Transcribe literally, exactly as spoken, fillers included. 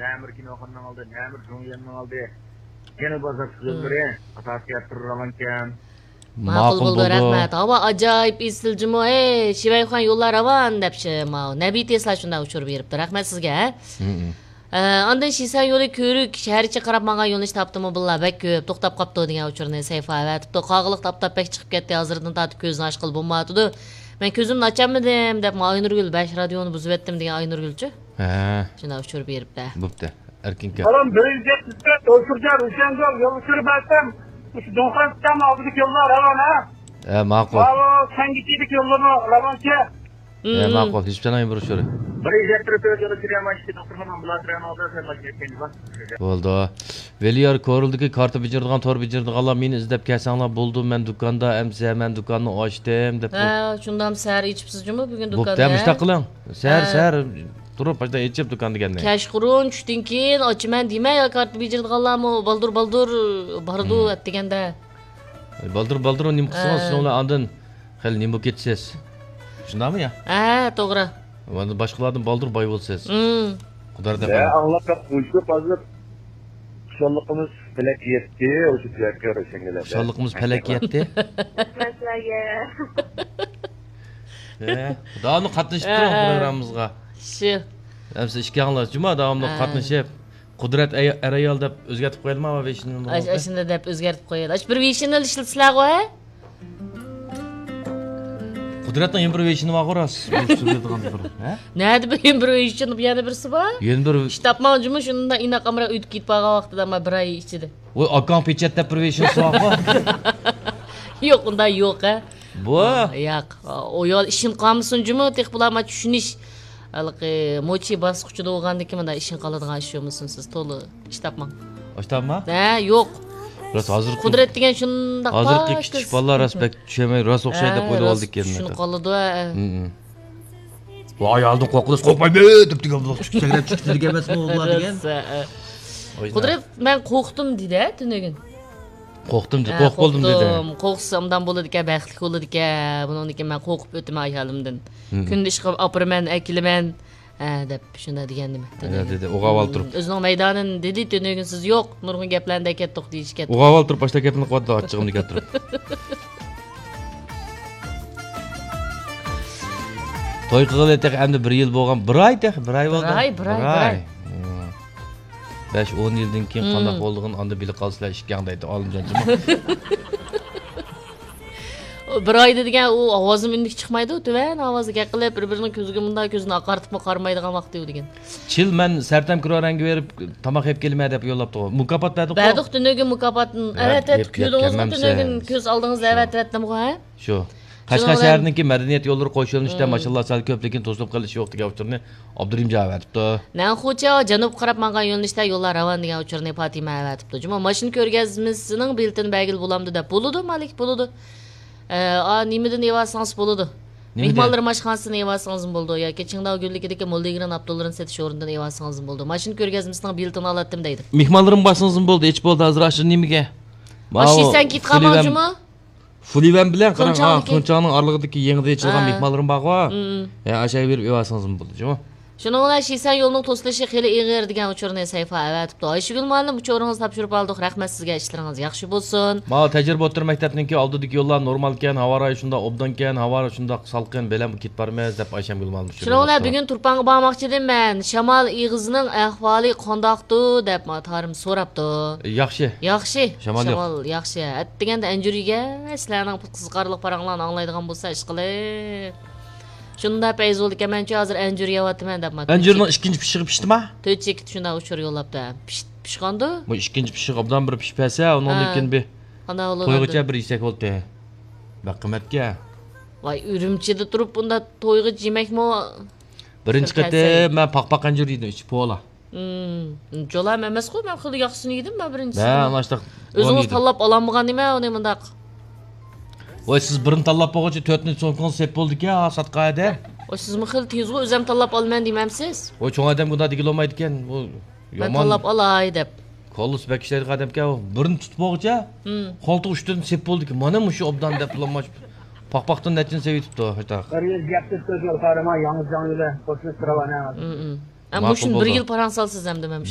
نەمىر كىنوخانىنىڭ ئالدى، نەمىر جۇڭيەننىڭ ئالدى. يەنە بازار يوللىرى ئاساسىي ئەتتۈر راۋانكەن. ماقۇل ماقۇل بولدى، بولدى. رەھمەت. ھاۋا ئاجايىپ ئېسىل جۇمۇ. ئەي، شىۋەيخۇەن يوللار راۋان دەپ شى-، ماۋۇ نەبى تېسلا شۇنداق ئۇچۇر بېرىپتۇ. رەھمەت سىزگە. ھە. مم. ئە، ئاندىن شىسەن يولى كۆۋرۈك شەھەرچە قاراپ ماڭغان يۆنىلىش تاپتىمۇ بىللا بەك كۆپ توختاپ قاپتۇ دېگەن ئۇچۇرنى سەيفا ئەۋەتىپتۇ. قاغىلىق تاپتاپ بەك چىقىپ كەتتى. ھازىردىن تارتىپ كۆزىنى ئاچقىلى بولمايۋاتىدۇ. مەن كۆزۈمنى ئاچالمىدىم دەپ ئاينۇرگۈل بەش رادىيونى بۇزۇۋەتتىم دېگەن ئاينۇرگۈلچۇ؟ ھە. شۇنداق ئۇچۇر بېرىپتۇ. بوپتۇ. ئەركىنكە. بالام، بىر يۈز يەتمىش تۆت ئوچۇرجان روشەنگۈل يول ئۇچۇرى بەرسەم، مۇشۇ دۇڭخان سىتەم ئالدىدىكى يوللار راۋان، ھە؟ ھە، ماقۇل. ماۋۇ سەنگىچىدىكى يوللارمۇ راۋانكى؟ ھە، مم. ماقۇل. ھېسىپچاننىڭ بىر ئۇچۇرى. بىر يۈز يەتمىش تۆت يول ئۈچۈرى ماشىنا دوختۇرخانا ئامبۇلانس رايونى ئالدىدا سەن ماشىنا يەتكەن. بولدى. ۋېلىيار كورلدىكى كارتا بېجىرىدىغان، تور بېجىرىدىغانلار مېنى ئىزدەپ كەلسەڭلار بولىدۇ، مەن دۇكاندا ئەمسە، مەن دۇكاننى ئاچتىم دەپ. ھە، شۇندام سەھەر ئېچىپسىز جۇمۇ بۈگۈن دۇكاننى. بوپتۇ، مۇشۇنداق قىلىڭ. سەھەر، ھە. سەھەر تۇرۇپ، باشتا ئېچىپ دۇكان دېگەننى. كەچقۇرۇن چۈشتىن كېيىن ئاچىمەن دېمەي، كارتا بېجىرىدىغانلارمۇ بالدۇر، بالدۇر بارىدۇ، ھە. ئەتىگەندە. بالدۇر، بالدۇر نېمە قىلسىڭىز، ھە. شۇنىڭ بىلەن ئاندىن خېلى نېمە بولۇپ كېتىسىز. شۇنداقمۇ يا؟ ھە، توغرا. ئاندىن باشقىلاردىن بالدۇر باي بولىسىز. مم. قۇدرەت ۋە ئەپەندى. ئاڭلاپ بەك قويۇشۇپ، ھازىر خۇشاللىقىمىز پەلەككە يەتتى، ئوشۇ تۆۋەنكى روشەنگۈلەردە. خۇشاللىقىمىز پەلەككە يەتتى. رەھمەتلەرگە. ھە، داۋاملىق قاتنىشىپ تۇرۇڭ ھە، ھە. پروگراممىمىزغا. شۇ. ھەمسە ئىككىڭلار جۇما داۋاملىق ھە. قاتنىشىپ، قۇدرەت ئەي-، ئەر-ئايال دەپ ئۆزگەرتىپ قويايلىما ۋېشنىنى؟ ئاش-، ئاشۇنداق دەپ ئۆزگەرتىپ قويايلى. ئاشۇ بىر ۋېشنىنى ئىشلىتىسىلەرغۇ، ھە؟ قۇدرەتنىڭ يەنە بىر ۋېشنى بارغۇ، راست. بىر سۆزلەيدىغان بىر، ھە؟ نەدە بىر، يەنە بىر ۋېشنى، يەنە بىرسى بار؟ يەنە بىر ئىش تاپماڭ جۇمۇ، شۇنداق ئىناق ئامراق ئۆتۈپ كېتىپ قالغان ۋاقتىدا، ما بىر ئاي ئىچىدە. ۋاي، ئاكاڭ پېچەت دەپ بىر ۋېشنىسى بارغۇ؟ يوق، ئۇنداق يوق، ھە؟ بۇ؟ ياق. ئۇ يول ئىشىنىپ قالمىسۇن جۇمۇ، تېخى بۇلار ما چۈشىنىش. ھېلىقى موچى باسقۇچىدا بولغاندىكىن مۇنداق ئىشىنىپ قالىدىغان ئىش بولمىسۇن، سىز تولا ئىش تاپماڭ. ئىش تاپما؟ ھە، يوق. راست، ھازىرقى قۇدرەت دېگەن شۇنداق ھازىرقى پاك كىچىك قىز. بالىلار راست بەك چۈشەنمەي، راست ئوخشايدۇ دەپ ھە، ئويلىۋالىدۇ راست ئىكەن. چۈشىنىپ قالىدۇ، ھە. ھە. ۋاي، ئايالدىن قورقۇلۇش، قورقمايمەن دەپ دېگەن بولۇپ چۈشكۈچەكلەپ چۈشكۈچە دېگەن ئەمەسمۇ ئۇلار دېگەن. راست، ھە، ھە. ئوينا. قۇدرەت، مەن قورقتۇم دېدى، ھە، تۈنۈگۈن. قورقتۇم دېدى، ھە، قورقۇپ بولدۇم دېدى. قورقسام ئادام بولىدىكەن، بەختلىك بولىدىكەن. بۇنىڭدىن كېيىن مەن قورقۇپ ئۆتىمەن ئايالىمدىن. ھىم. كۈندە ئىشقا ئاپىرىمەن، ئەكېلىمەن. ھە، دەپ شۇنداق دېگەنىدىم. ھە، دېدى، ئوغاۋال تۇرۇپ. ئۆزىنىڭ مەيدانىنى دېدى، تۈنۈگۈن سىز يوق، نۇرغۇن گەپلەرنى دەكەتتۇق دېيىشكەن. ئوغاۋال تۇرۇپ باشلاپ گەپنى قىلىۋاتىدۇ، ئاچچىقىمنى كەلتۈرۈپ. توي قىلغىلى تېخى ئەمدى بىر يىل بولغان، بىر ئاي تېخى، بىر ئاي بولدى. بىر ئاي، بىر ئاي، بىر ئاي. ھىم. بەش، ئون يىلدىن كېيىن قانداق بولىدىغىنى ئاندىن بىلىپ قالىسىلەر ئىككىڭ دەيدۇ، ئالىمجان جۇمۇ. بىر ئايدا دېگەن ئۇ ئاۋازىمۇ ئۈنلۈك چىقمايدۇ، تۆۋەن ئاۋازدا گەپ قىلىپ، بىر-بىرىنىڭ كۆزىگە مۇنداق كۆزىنى ئاقارتىپمۇ قارىمايدىغان ۋاقتى ئۇ دېگەن. چىل، مەن سەرتەم كرو رەڭگى بېرىپ تاماق يەپ كېلىمەن دەپ يوللاپتۇ. مۇكاپات بەردۇققۇ. بەردۇق تۈنۈگۈن مۇكاپاتنى. ھە، ئەۋەتىۋەتتۇق، يەپ، يەپ كۆردىڭىزمۇ كەلمەمسىز. تۈنۈگۈن كۆز ئالدىڭىزدا شۇ. ئەۋەتىۋەتتىمغۇ، ھە؟ شۇ. قەشقەر شەھىرىنىڭكى مەدەنىيەت يوللىرى قوش يۆنىلىشتە ماشىنىلار سەل كۆپ، لېكىن توسۇلۇپ قېلىش يوق دېگەن ئۇچۇرنى ئابدۇرېھىم جان ئەۋەتىپتۇ. نەنخۇچياۋ جەنۇبقا قاراپ ماڭغان يۆنىلىشتە يوللار راۋان دېگەن ئۇچۇرنى پاتىمە ئەۋەتىپتۇ. جۇمۇ ماشىنا كۆرگەزمىسىنىڭ بېلىتىنى بەلگىلىگىلى بولامدۇ دەپ. بولىدۇ، مالىك، بولىدۇ. ئە، ئا، نېمىدىن ئېلىۋالسىڭىز بولىدۇ. نېمىدىن؟ مېھمانلىرى ئاشخانىسىدىن ئېلىۋالسىڭىزمۇ بولىدۇ ياكى چىڭداۋ گۈللۈكىدىكى موللىگرېن ئاپتولىرىنى سېتىش ئورنىدىن ئېلىۋالسىڭىزمۇ بولىدۇ. ماشىنا كۆرگەزمىسىنىڭ بېلىتىنى ئالاتتىم دەيدۇ. مېھمانلىرىمنى بارسىڭىزمۇ بولدى، ئېچىپ بولدى ھازىر ئاشۇ نېمىگە. ماشىنىسەن كېتىپ قالماڭ جۇمۇ. فۇلىۋەن بىلەن قاراڭ، ھا، تۇنچاڭنىڭكى. تۇنچاڭنىڭ ئارىلىقىدىكى يېڭىدىن ئېچىلغان ھە. مېھمانلىرىم بارغۇ. مم. ھە، ئاشۇ يەرگە بېرىپ ئېلىۋالسىڭىزمۇ بولىدۇ جۇمۇ. شۇنىڭ بىلەن شىسەن يولىنىڭ توسۇلۇشى خېلى ئېغىر دېگەن ئۇچۇرنى سەيفا ئەۋەتىپتۇ. ئايشىگۈل مۇئەللىم، ئۇچۇرىڭىزنى تاپشۇرۇپ ئالدۇق، رەھمەت سىزگە، ئىشلىرىڭىز ياخشى بولسۇن. ماۋۇ تەجرىبە ئوتتۇرا مەكتەپنىڭكى ئالدىدىكى يوللار نورمالكەن، ھاۋا رايى شۇنداق ئوبدانكەن، ھاۋا شۇنداق سالقىن، بەلەن كېتىپ بارىمىز دەپ ئايشەمگۈل مۇئەللىم شۇ شۇنىڭ بىلەن بولۇپتۇ. بۈگۈن تۇرپانغا بارماقچىدىم مەن. شامال ئېغىزىنىڭ ئەھۋالى قانداقتۇ دەپ مانا تارىم سوراپتۇ. ياخشى. ياخشى. شامال يوق. شامال ياخشى. ئەتىگەندە ئەنجۈر يېگەن، سىلەرنىڭ قىزىقارلىق پاراڭلارنى ئاڭلايدىغان بولسا ئىشقىلىپ. شۇنداق پەيز بولدىكەن، مەنچۇ ھازىر ئەنجۈر يەۋاتىمەن دەپ مانا. ئەنجۈرنىڭ ئىككىنچى پىشىغى پىشتىما؟ تۆت چېكىت شۇنداق ئۇچۇر يوللاپتۇ. پىش-، پىشقاندۇ؟ بۇ ئىككىنچى پىشىق ئوبدان بىر پىشىپ بەرسە، ئۇنىڭدىن ھە. كېيىن بىر قانداق بولىدۇ؟ تويغىچە بىر يېسەك بولدى. بەك قىممەتكەن. ۋاي، ئۈرۈمچىدە تۇرۇپ بۇنداق تويغىچە يېمەكمۇ؟ بىرىنچى قېتىم مەن پاقپاق ئەنجۈر يېدىم، ئىچى پولا. مم، جولام ئەمەسقۇ، مەن خېلى ياخشىسىنى يېدىم مەن بىرىنچىسىنى. ھە، مانا شۇنداق. ئۆزىڭىز تاللاپ ئالالمىغان نېمە ئۇنى مۇنداق؟ ۋاي، سىز بىرنى تاللاپ بولغۇچە تۆتنى سومكىڭىزغا سېلىپ بولدىكەن، ھا، ساتقان ئادەم. ۋاي، سىزمۇ خېلى تېزغۇ، ئۆزۈم تاللاپ ئالىمەن دېمەمسىز؟ ۋاي، چوڭ ئادەمگە ئۇنداق دېگىلى بولمايدىكەن. ئۇ مەن يامان تاللاپ ئالاي دەپ. كاللىسى بەك ئىشلەيدىغان ئادەمكەن ئۇ. بىرنى تۇتۇپ بولغۇچە، مم. قولتۇق ئۈستىدىن سېلىپ بولدىكەن. مانا مۇشۇ ئوبدان دەپ، پاقپاقتىن نەچچىنى سېلىۋېتىپتۇ، ھېيتاق. بىر يۈز يەتمىش تۆت يول پارىما، ياڭزىجاڭ يولى، قوشنىسى راۋانە. مم، مم. ھە، ماقۇل مۇشۇنى بىر بولدى. يىل پاراڭ سالسىز ئەمدى مەن.